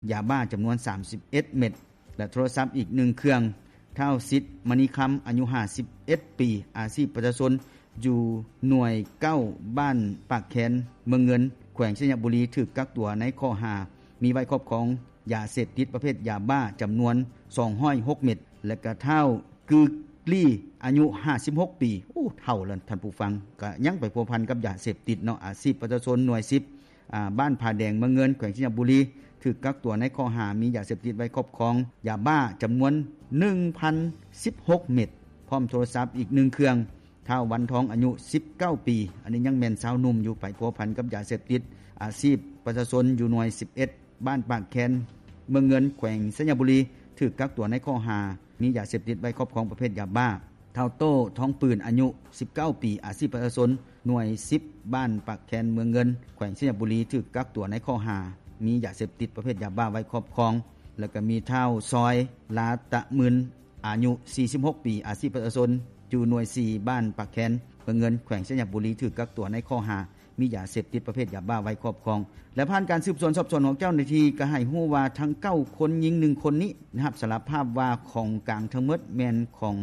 ຢາບ້າຈຳນວນສາມສິບເອັດເມັດ ແລະ ໂທລະສັບອີກໜຶ່ງເຄື່ອງ. ທ້າວ ສິດ ມະນີຄຳ ອາຍຸຫ້າສິບເອັດປີ ອາຊີບປະຊາຊົນ ຢູ່ໜ່ວຍເກົ້າ ບ້ານປາກແຄນ ເມືອງເງິນ ແຂວງໄຊຍະບູລີ ຖືກກັກຕົວໃນຂໍ້ຫາມີໄວ້ຄອບຄອງຢາເສບຕິດປະເພດຢາບ້າຈຳນວນສອງຮ້ອຍຫົກເມັດ ແລະ ກະທ້າວ ກືກລີ ອາຍຸຫ້າສິບຫົກປີ ໂອ້ ເຖົ້າແລ້ວທ່ານຜູ້ຟັງ ກະຍັງໄປພົວພັນກັບຢາເສບຕິດເນາະ. ອາຊີບປະຊາຊົນໜ່ວຍສິບ ອາ ບ້ານຜາແດງ ເມືອງເງິນ ແຂວງໄຊຍະບູລີ ຖືກກັກຕົວໃນຂໍ້ຫາມີຢາເສບຕິດໄວ້ຄອບຄອງຢາບ້າຈຳນວນໜຶ່ງພັນສິບຫົກເມັດ ພ້ອມໂທລະສັບອີກໜຶ່ງເຄື່ອງ. ທ້າວ ວັນທອງ ອາຍຸສິບເກົ້າປີ ອັນນີ້ຍັງແມ່ນຊາວໜຸ່ມຢູ່ ໄປພົວພັນກັບຢາເສບຕິດ. ອາຊີບປະຊາຊົນຢູ່ໜ່ວຍສິບເອັດ ບ້ານປາກແຄນ ເມືອງເງິນ ແຂວງໄຊຍະບູລີ ຖືກກັກຕົວໃນຂໍ້ຫາມີຢາເສບຕິດໄວ້ຄອບຄອງປະເພດຢາບ້າ. ທ້າວ ໂຕ້ ທອງປືນ ອາຍຸສິບເກົ້າປີ ອາຊີບປະຊາຊົນໜ່ວຍສິບ ບ້ານປາກແຄນ ເມືອງເງິນ ແຂວງໄຊຍະບູລີ ຖືກກັກຕົວໃນຂໍ້ຫາມີຢາເສບຕິດປະເພດຢາບ້າໄວ້ຄອບຄອງ. ແລ້ວກະມີທ້າວ ຊອຍ ລາຕະໝືນ ອາຍຸສີ່ສິບຫົກປີ ອາຊີບປະຊາຊົນຢູ່ໜ່ວຍສີ່ ບ້ານປາກແຄນ ເມືອງເງິນ ແຂວງໄຊຍະບູລີ ຖືກກັກຕົວໃນຂໍ້ຫາມີຢາເສບຕິດປະເພດຢາບ້າໄວ້ຄອບຄອງ. ແລະ ຜ່ານການສືບສວນສອບສວນຂອງເຈົ້າໜ້າທີ່ ກະໃຫ້ຮູ້ວ່າທັງເກົ້າຄົນ ຍິງໜຶ່ງຄົນນີ້ ຮັບສາລະພາບວ່າຂອງກາງທັງໝົດແມ່ນຂອງ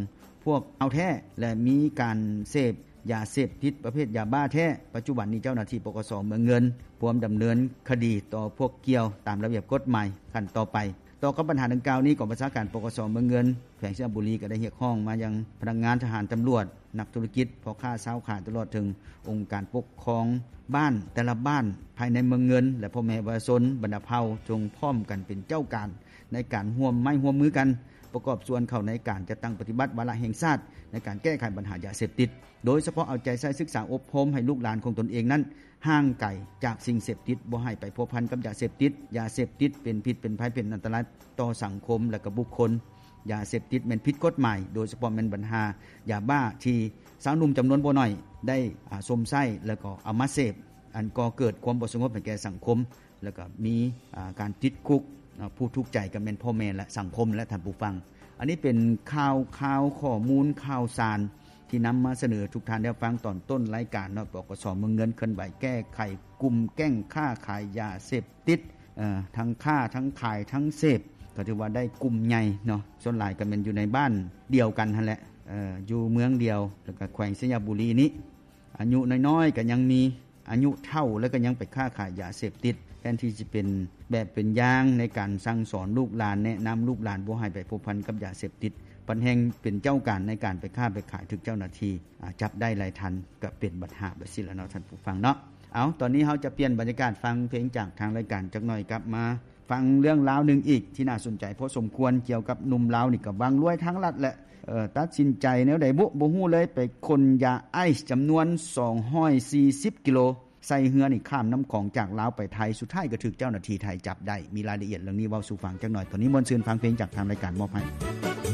ພວກເອົາແທ້ ແລະ ມີການເສບຢາເສບຕິດປະເພດຢາບ້າແທ້. ປັດຈຸບັນນີ້ເຈົ້າໜ້າທີ່ ປກສ ເມືອງເງິນ ພວມດຳເນີນຄະດີຕໍ່ພວກກ່ຽວຕາມລະບຽບກົດໝາຍຂັ້ນຕໍ່ໄປ. ຕໍ່ກັບບັນຫາດັ່ງກ່າວນີ້ ກອງບັນຊາການ ປກສ ເມືອງເງິນ ແຂວງໄຊຍະບູລີ ກໍໄດ້ຮຽກຮ້ອງມາຍັງພະນັກງານ, ທະຫານ, ຕຳຫຼວດ, ນັກທຸລະກິດ, ພໍ່ຄ້າ, ຊາວຂາຍ, ຕະຫຼອດເຖິງອົງການປົກຄອງບ້ານແຕ່ລະບ້ານພາຍໃນເມືອງເງິນ ແລະ ພໍ່ແມ່ປະຊາຊົນບັນດາເຜົ່າ ຈົ່ງພ້ອມກັນເປັນເຈົ້າການໃນການຮ່ວມໄມ້ຮ່ວມມືກັນ ປະກອບສ່ວນເຂົ້າໃນການຈັດຕັ້ງປະຕິບັດວາລະແຫ່ງຊາດໃນການແກ້ໄຂບັນຫາຢາເສບຕິດ, ໂດຍສະເພາະເອົາໃຈໃສ່ສຶກສາອົບຮົມໃຫ້ລູກຫຼານຂອງຕົນເອງນັ້ນ ຫ່າງໄກຈາກສິ່ງເສບຕິດ, ບໍ່ໃຫ້ໄປພົວພັນກັບຢາເສບຕິດ. ຢາເສບຕິດເປັນພິດເປັນໄພ ເປັນອັນຕະລາຍຕໍ່ສັງຄົມ ແລະ ກະບຸກຄົນ. ຢາເສບຕິດແມ່ນຜິດກົດໝາຍ, ໂດຍສະເພາະແມ່ນບັນຫາຢາບ້າທີ່ຊາວໜຸ່ມຈຳນວນບໍ່ໜ້ອຍໄດ້ ອາ ຊົມໃຊ້ ແລ້ວກໍເອົາມາເສບ, ອັນກໍ່ເກີດຄວາມບໍ່ສະຫງົບໃຫ້ແກ່ສັງຄົມ ແລ້ວກໍມີ ອາ ການຕິດຄຸກ. ອາ ຜູ້ທຸກໃຈກໍແມ່ນພໍ່ແມ່ ແລະ ສັງຄົມ ແລະ ທ່ານຜູ້ຟັງ. ອັນນີ້ເປັນຂ່າວຄາວ ຂໍ້ມູນຂ່າວສານ ທີ່ນຳມາສະເໜີທຸກທ່ານໄດ້ຟັງຕອນຕົ້ນລາຍການເນາະ. ປກສ ເມືອງເງິນເຄື່ອນໄຫວແກ້ໄຂກຸ່ມແກ້ງຄ້າຂາຍຢາເສບຕິດ, ເອີ ທັງຄ້າ ທັງຂາຍ ທັງເສບ ກໍຖືວ່າໄດ້ກຸ່ມໃຫຍ່ເນາະ. ສ່ວນຫຼາຍກໍແມ່ນຢູ່ໃນບ້ານດຽວກັນຫັ້ນແຫຼະ, ເອີ ຢູ່ເມືອງດຽວ ແລ້ວກໍແຂວງໄຊຍະບູລີນີ້. ອາຍຸນ້ອຍໆກໍຍັງມີ, ອາຍຸເຖົ້າແລ້ວກໍຍັງໄປຄ້າຂາຍຢາເສບຕິດ. ແທນທີ່ຈະເປັນແບບເປັນຢ່າງໃນການສັ່ງສອນລູກຫຼານ, ແນະນຳລູກຫຼານບໍ່ໃຫ້ໄປພົວພັນກັບຢາເສບຕິດ, ພັດແຮ່ງເປັນເຈົ້າການໃນການໄປຄ້າໄປຂາຍ, ຖືກເຈົ້າໜ້າທີ່ ອາ ຈັບໄດ້ໄລ່ທັນ, ກໍເປັນບັນຫາແບບຊີ້ລະເນາະ ທ່ານຜູ້ຟັງເນາະ. ເອົາ, ຕອນນີ້ເຮົາຈະປ່ຽນບັນຍາກາດຟັງເພງຈາກທາງລາຍການຈັກໜ້ອຍ, ກັບມາຟັງເລື່ອງລາວໜຶ່ງອີກທີ່ໜ້າສົນໃຈພໍສົມຄວນ ກ່ຽວກັບໜຸ່ມລາວນີ້ກໍຫວັງລວຍທາງລັດແຫຼະ, ເອີ ຕັດສິນໃຈແນວໃດບຸ ບໍ່ຮູ້ເລີຍ, ໄປຂົນຢາໄອສ໌ຈຳນວນສອງຮ້ອຍສີ່ສິບກິໂລ ໃສ່ເຮືອນີ້ຂ້າມນ້ຳຂອງຈາກລາວໄປໄທ, ສຸດທ້າຍກໍຖືກເຈົ້າໜ້າທີ່ໄທຈັບໄດ້. ມີລາຍລະອຽດເລື່ອງນີ້ເວົ້າສູ່ຟັງຈັກໜ້ອຍ. ຕອນນີ້ມ່ວນຊື່ນຟັງເພງຈາກທາງລາຍການມອບໃຫ້.